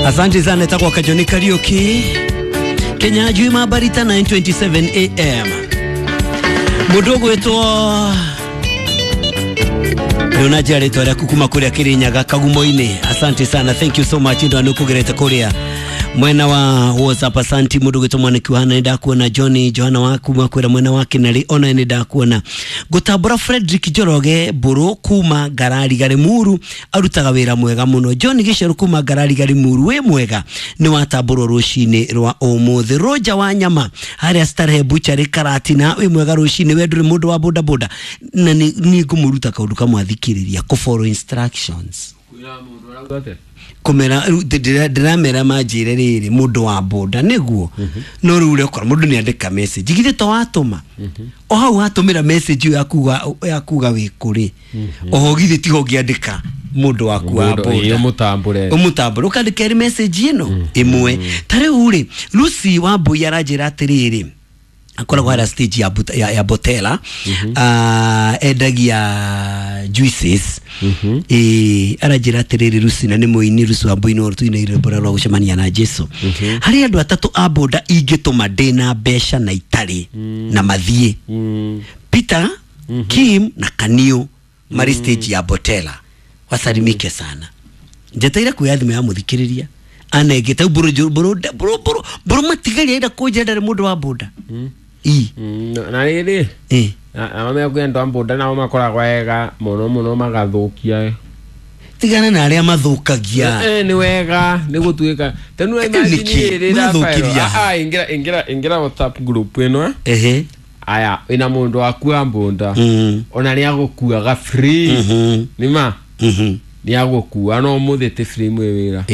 Asante sana takwa Kajoni Kariuki. Kenya juu mabarita 9:27 am. Mudogo wetu Leona rĩtwa rĩaku kuma kũrĩa Kĩrĩnyaga Kagumo-inĩ. Asante sana, thank you so much ndo nĩkũgerete kũrĩa mwena wa WhatsApp. Asante mũndũ gwĩtwo Mwaniki wa Hana, nĩndakuona. Johnny Johana wa kuma kwĩra mwena wa Kĩnarĩ, ona nĩndakuona. Ngũtambũra Frederick Njoroge Mbũrũ kuma Ngarari Garimuru, arutaga wĩra mwega mũno. John Gĩcerũ kuma Ngarari Garimuru, wĩ mwega, nĩ watambũrwo rũcinĩ rwa ũmũthĩ. Roger wa Nyama harĩa Starehe Butchery Karatina, wĩ mwega rũcinĩ, we ndũrĩ mũndũ wa bodaboda na nĩ ngũmũruta kaũndũ kamwe athikĩrĩria, kũ follow instructions kumera ndiramera manjire riri mundu wa boda niguo no riu urekora mundu ni andika message githe to watuma o hau watumira message ya kuga wi kuri oho githe tiho ngiandika mundu waku wa boda umutambure ukandika ri message ino imwe ta riu ri Lucy wa Mbui aranjira atiriri akoragwo harĩa stage ya Botela, endagia juices. Aranjĩra atĩrĩrĩ Lucy, na nĩ mũini Lucy wa Mbui, no tũine rwĩmbo rwa gũcemania na Jesu. Harĩ andũ atatũ a boda ingĩtũma ndĩna mbeca na itarĩ na mathiĩ, Peter, Kim na Kaniu marĩ stage ya Botela, wasalimike sana. Njeteire kuoya thimũ ya mũthikĩrĩria anengete mbũrũ matigaria enda kũnjĩra ndarĩ mũndũ wa boda. Na rĩrĩ aba mekwenda boda nao makoragwo wega mũno mũno magathukia. Tigana na arĩa mathũkagia. Nĩ wega nĩ gũtuĩka tenu imagine rĩrĩ ingĩra WhatsApp group ĩno. Aya ina mũndũ waku wa boda ona nĩ agũkuaga free nĩma nĩ agũkua no mũthĩ free mwĩ wĩra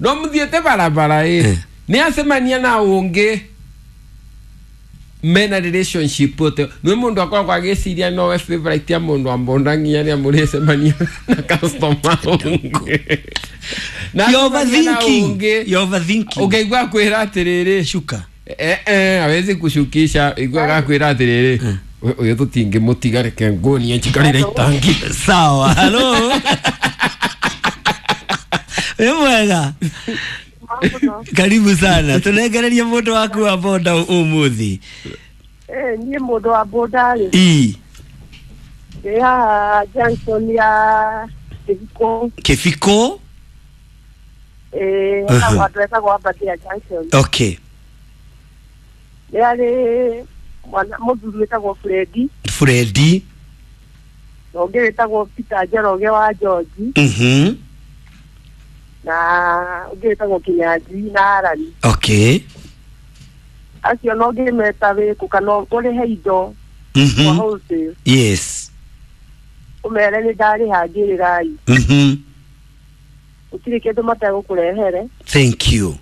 no muthiete barabara ni acemania na ungi mena relationship ote ni mundu akoragwo agĩciria no we favorite ya mundu wa mbonda nginya ni amũrĩcemania na customer ungi na you overthinking ukaigua kwĩra atĩrĩrĩ shuka awezi kushukisha igua gakwĩra atĩrĩrĩ uyu tũtingĩmũtiga reke nguonie njikarĩre itangi. Sawa, hello. Wĩ mwega, karibu sana. Tunengereria mũndũ waku wa boda ũmũthĩ. Niĩ mũndũ wa boda rĩ ndĩ haha junction ya Kĩbiko. Kĩbiko? Handũ hetagwo Aberdare junction. Okay. Nĩ harĩ mũthuri wĩtagwo Fredi. Fredi. Na ũngĩ wĩtagwo Peter Njoroge wa George. Na ũngĩ wĩtagwo Kĩnyanjui na Arani. Okay. Acio no ngĩmeta wĩkũ kana ũrĩhe indo kwa wholesale. Yes. Ũmere nĩ ndarĩha ngĩrĩrai. Gũtirĩ kĩndũ mategũkũrehere. Thank you.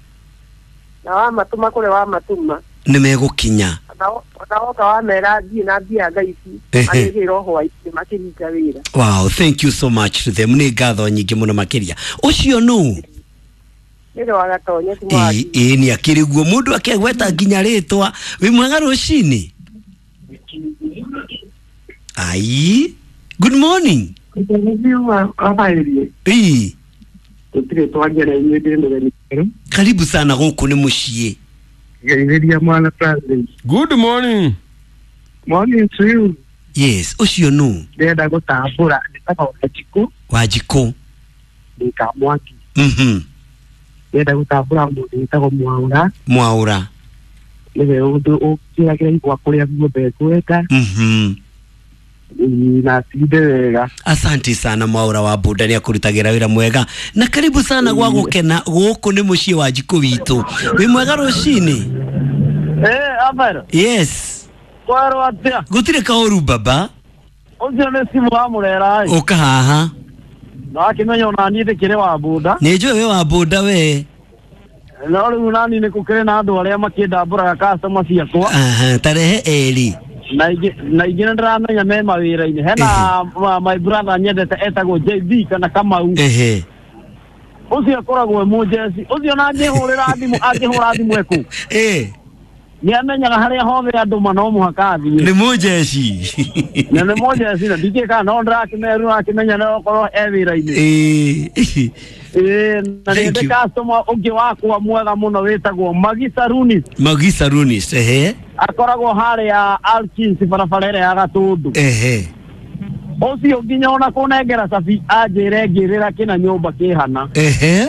Na wamatũma kũrĩa wamatũma nĩ megũkinya. Ona woka wamera thiĩ na mbia thaa ici marĩgĩra hwaĩ-inĩ makĩhinga wĩra. Wow, thank you so much to them. Nĩ ngatho nyingĩ mũno makĩria. Ũcio nũ? Nĩ wa Gatonye ti Mwangi. Ĩĩ nĩ akĩrĩ guo mũndũ akegweta nginya rĩtwa. Wĩ mwega rũcinĩ? Ai, good morning. Karibu sana gũkũ nĩ mũciĩ. Good morning. Morning to you. Yes, ũcio nũ? Ndĩrenda gũtambũra ndĩtagwo Wanjikũ. Wanjikũ. Ndĩ Kamwangi. Ndĩrenda gũtambũra mũndũ wĩtagwo Mwaũra. Mwaũra. Nĩwe ũkĩragĩra igwa kũrĩa guothe ngwenda. Na atinde wega. Asante sana Mwaũra wa boda, nĩ akũrutagĩra wĩra mwega. Na karibu sana gwa gũkena gũkũ nĩ mũciĩ wa Njikũ witũ. Wĩ mwega rũcinĩ? Abara. Yes. Kwerwo atĩa? Gũtirĩ kaũru baba. Ũcio nĩ simu wa Mũrera. Ũka haha. Na wakĩmenya ona niĩ ndĩkĩrĩ wa boda. Nĩ njũĩ wĩ wa boda we. No rĩu nani nĩ gũkĩrĩ na andũ arĩa makĩndambũraga customer ciakwa. Tarehe eri. Na ingĩ nĩ ndĩramenya me mawĩra-inĩ. Hena my brother nyendete etagwo JB kana Kamau. Ũcio akoragwo e mũjeci. Ũcio na angĩhũrĩra thimũ ekũ. Nĩ amenyaga harĩa hothe andũ ma no mũhaka athiĩ. Nĩ mũjeshi. Na nĩ mũjeshi na ndikĩ kana no ndĩrakĩmeru akĩmenya no okorwo e wĩra-inĩ. Na Thank nĩ you. customer ũngĩ wakwa mwega mũno wĩtagwo Magisa Runis. Magisa Runis, ehe. Akoragwo harĩa Alkins barabara ĩrĩa ya Gatũndũ. Ehe. Ũcio nginya ona kũnengera cabi anjĩre ngĩrĩra kĩna nyũmba kĩhana. Ehe.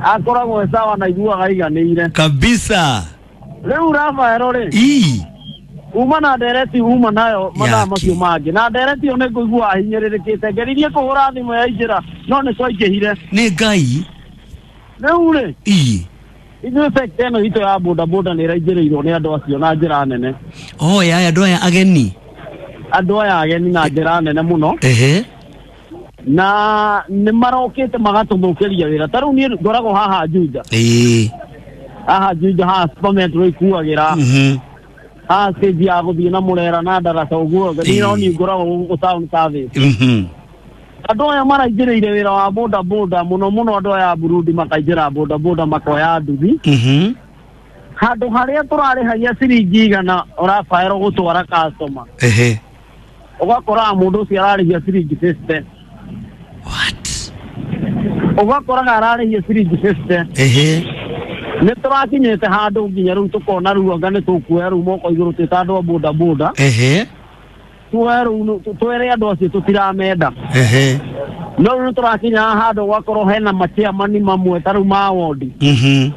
Akoragwo e sawa na iguaga aiganĩire. Kabisa. Rĩu Rafaelo rĩ, Ii. uma na ndereti uma nayo mathaa Yaki. macio mangĩ na ndereti ĩyo nĩ ngũigua hinyĩrĩrĩkĩte ngeririe kũhũra thimũ ya njĩra no nĩ twaingĩhire. Nĩ Ngai. Rĩu rĩ, Ii. ithuĩ sekta ĩno itũ ya bodaboda nĩ ĩraingĩrĩirwo nĩ andũ acio na njĩra nene. Oh, ya andũ aya ageni. Andũ aya ageni na njĩra nene mũno. Ehe. Na nĩ marokĩte magatũthũkĩria wĩra. Ta rĩu niĩ ngoragwo haha Juja. Ĩĩ. Haha Juja haha Super Metro ikuagĩra. Mhm. Haha stage ya gũthiĩ na Mũrera na Ndaraca ũguo. Niĩ no niĩ ngoragwo gũkũ town service. Mhm. Andũ aya maraingĩrĩire wĩra wa boda boda mũno mũno andũ aya a Burundi makaingĩra boda boda makoya nduthi. Mhm. Handũ harĩa tũrarĩhagia ciringi 100 ũrabaĩrwo gũtwara customer. Ehe. Ũgakoraga mũndũ ũcio ararĩhia ciringi 50. What? Ũgakoraga ararĩhia ciringi 50. Ehe. Nĩ tũrakinyĩte handũ nginya rĩu tũkona rĩu anga nĩ tũkuoya rĩu moko igũrũ twĩ ta andũ a boda boda. Ehe. Tuoe rĩu twĩre andũ acio tũtiramenda. Ehe. No rĩu nĩ tũrakinya handũ gwakorwo hena machairman mamwe ta rĩu ma wondi. Mhm.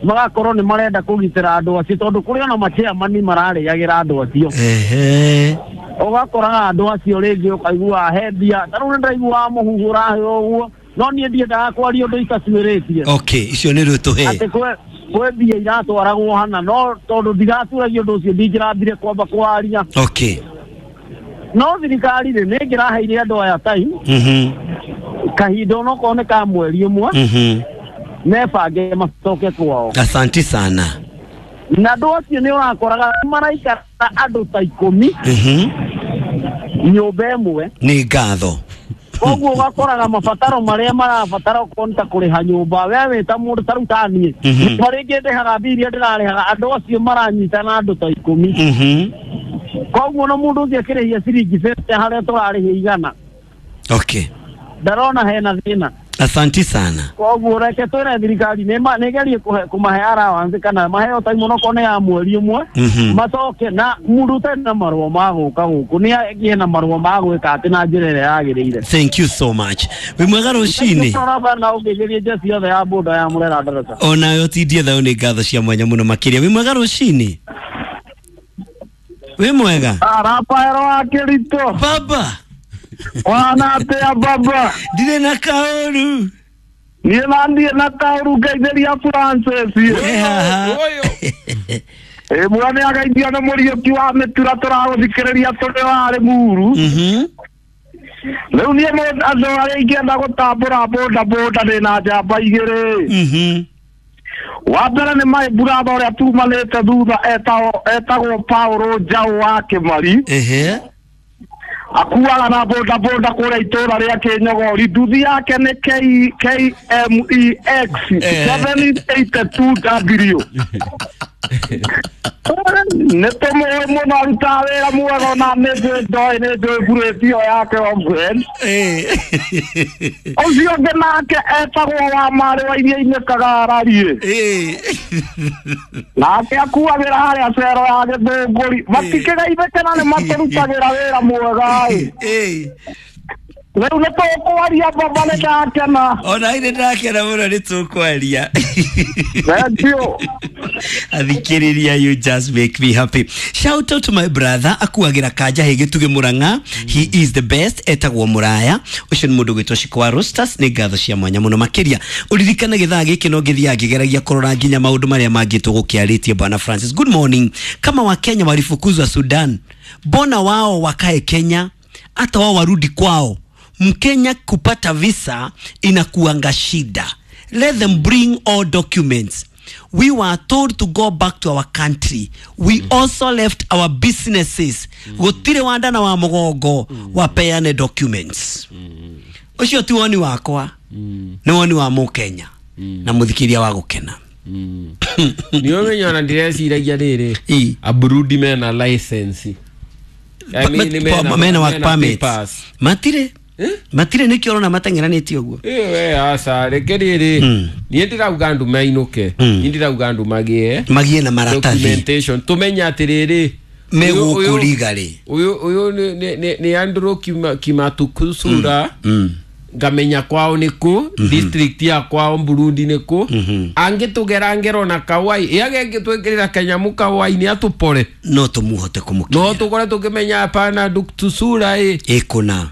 Magakorwo nĩ marenda kũgitĩra andũ acio tondũ kũrĩ ona machairman mararĩagĩra andũ acio. Ehe. Ũgakoraga andũ acio rĩngĩ ũkaigua he mbia ta rĩu nĩ ndaiguaga mũhuhu ũraheo ũguo no niĩ ndiendaga kwaria ũndũ itatuĩrĩtie. Okay, icio nĩ rĩu tũhe. Atĩ kwĩ mbia iratwaragwo hana no tondũ ndigatuĩragia ũndũ ũcio ndingĩrambire kwamba kwaria. Okay. No thirikari rĩ nĩ ĩngĩraheire andũ aya time. Mhm. Kahinda onokorwo nĩ ka mweri ũmwe. Mhm. Mebange macoke kwao. Asante sana. Na andũ acio nĩ ũrakoraga maraikara andũ ta 10. Mhm. Nyũmba ĩmwe. Nĩ ngatho. Koguo ũgakoraga mabataro marĩa marabatara okorwo nĩ ta kũrĩha nyũmba we wĩ ta mũndũ ta rĩu ta niĩ. Mhm. Harĩa ingĩ ndĩhaga mbia iria ndĩrarĩhaga andũ acio maranyitana andũ ta 10. Mhm. Koguo no mũndũ ũcio akĩrĩhia ciringi 50 harĩa tũrarĩhia 100. Okay. Ndarona hena thĩna. Asante sana. Koguo reke twĩre thirikari nĩ ĩgerie kũmahe allowance kana maheo time onokorwo nĩ ya mweri ũmwe. Mhm. Macoke na mũndũ ũtarĩ na marũa ma gũka gũkũ nĩ agĩe na marũa ma gwĩka atĩ na njĩra ĩrĩa yagĩrĩire. Thank you so much. Wĩ mwega rũcinĩ. Na ũngĩgerie njeci yothe ya boda ya Mũrera Ndaraca. Onawe ũtindie thayũ nĩ ngatho cia mwanya mũno makĩria. Wĩ mwega rũcinĩ. Wĩ mwega. Rafaelo wa Kĩritũ. Baba. Wana atĩa baba? Ndirĩ na kaũru. Niĩ na ndiĩ na kaũru ngeithĩria Francis. Ĩ haha. Ĩ mwega nĩ ageithio nĩ Mũriũki wa mĩtura tũragũthikĩrĩria tũrĩ warĩ muru. Mhm. Rĩu niĩ andũ arĩa ingĩenda gũtambũra boda boda ndĩ na njamba igĩrĩ. Mhm. Wa mbere nĩ my brother ũrĩa tumanĩte thutha etagwo Paulo Njaũ wa Kĩmari. Ehe. Akuaga na boda boda kũrĩa itũũra rĩa Kĩnyogori. Nduthi yake nĩ KMEX 782W. Nĩ tũmũĩ mũno arutaga wĩra mwega ona nĩ njũĩ ndoĩ nĩ njũĩ mburĩti ĩyo yake Omfriend. Ũcio ũngĩ nake etagwo wa marĩ wa iria-inĩ Kagarariĩ. Nake akuagĩra harĩa cero ya Gĩthũngũri. Matikĩgeithĩke na nĩ matũrutagĩra wĩra mwega ĩ. Rĩu nĩ tũkwaria baba nĩ ndakena. Ona nĩ ndakena mũno nĩ tũkwaria. Thank you. Athikĩrĩria, you just make me happy. Shout out to my brother akuagira kanja he gĩtugĩ Mũrang'a. He is the best, etagwo Mũraya. Ũcio nĩ mũndũ gwĩtwo Shiko wa Roasters. Nĩ ngatho cia mwanya mũno makĩria. Ũririkane gĩthaa gĩkĩ no ngĩthiaga ngĩgeragia kũrora nginya maũndũ marĩa mangĩ tũgũkĩarĩtie. Bwana Francis, good morning. Kama Wakenya walifukuzwa Sudan, mbona wao wakae Kenya? Hata wao warudi kwao. Mkenya kupata visa inakuanga shida. Let them bring all documents. We were told to go back to our country. We also left our businesses. Gũtirĩ wanda na wa mũgongo wapeane documents. Ũcio ti woni wakwa. Nĩ woni wa Mũkenya na mũthikĩria wa gũkena. Nĩ ũmenya ona ndĩreciragia rĩrĩ, Aburundi mena license. I mean, mena work permit. Matire. Matire nĩkĩo ũrona mateng'eranĩtie ũguo. We aca reke rĩrĩ, niĩ ndĩrauga andũ mainũke, niĩ ndĩrauga andũ magĩe na maratathi, documentation, tũmenye atĩrĩrĩ megũkũriga rĩ. Ũyũ nĩ Andrew Kimatukusura, ngamenya kwao nĩ kũ, district ya kwao Burundi nĩ kũ, angĩtũgera ngero na kawai yagengĩtwĩkĩrĩra kanyamu kawai nĩ atũpore, no tũmũhote kũmũkinyĩra, no tũkore tũkĩmenya hapana Duktusura ĩ ĩkũna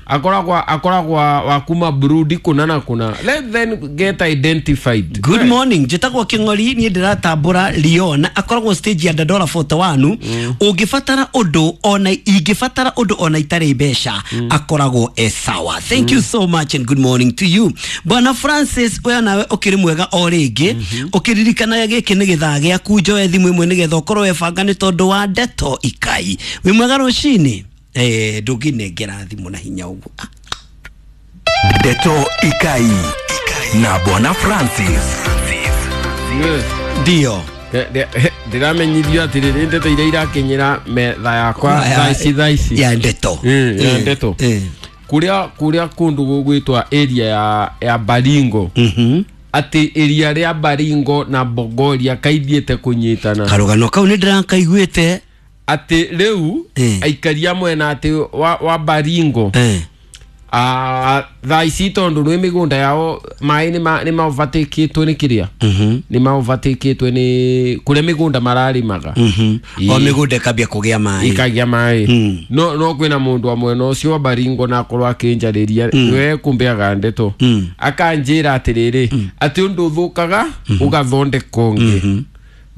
akoragwa wa kuma Burundi kũna na kũna. Let them get identified. Good morning, njĩtagwo Kĩng'ori, niĩ ndĩratambũra Leon akoragwo stage ya Dandora 41. Ũngĩbatara ũndũ ona ingĩbatara ũndũ ona itarĩ mbeca, akoragwo e sawa. Thank you so much and good morning to you. Bwana Francis, we nawe ũkĩrĩ mwega o rĩngĩ, ũkĩririkanaga gĩkĩ nĩ gĩthaa gĩaku, njoe thimũ ĩmwe nĩgetha ũkorwo webanga nĩ tondũ wa ndeto ikai. Wĩ mwega rũcinĩ? Ndũngĩnengera thimũ na hinya ũguo. Ndeto Ikai na Bwana Francis. Ndio ndĩramenyithio atĩrĩrĩ, ndeto iria irakinyĩra metha yakwa thaa ici ya ndeto, ya ndeto kuria kundu gugwitwa area ya Baringo, ati area ria Baringo na Bogoria kaithiete kunyitana. Karugano kau ni ndirakaiguite ati riu aikaria mwena ati wa Baringo thaa ici tondu nĩ mĩgũnda yao maĩ nĩ maovatikĩtwo nĩ kĩrĩa, nĩ maovatikĩtwo nĩ kũrĩa mĩgũnda mararĩmaga, o mĩgũnda ĩkambia kũgĩa maĩ, ĩkagĩa maĩ. No kwĩna mũndũ wa mwena ũcio wa Baringo na akorwo akĩnjarĩria we kũmbeaga ndeto, akanjĩra atĩrĩrĩ, atĩ ũndũ ũthũkaga ũgathondeka ũngĩ.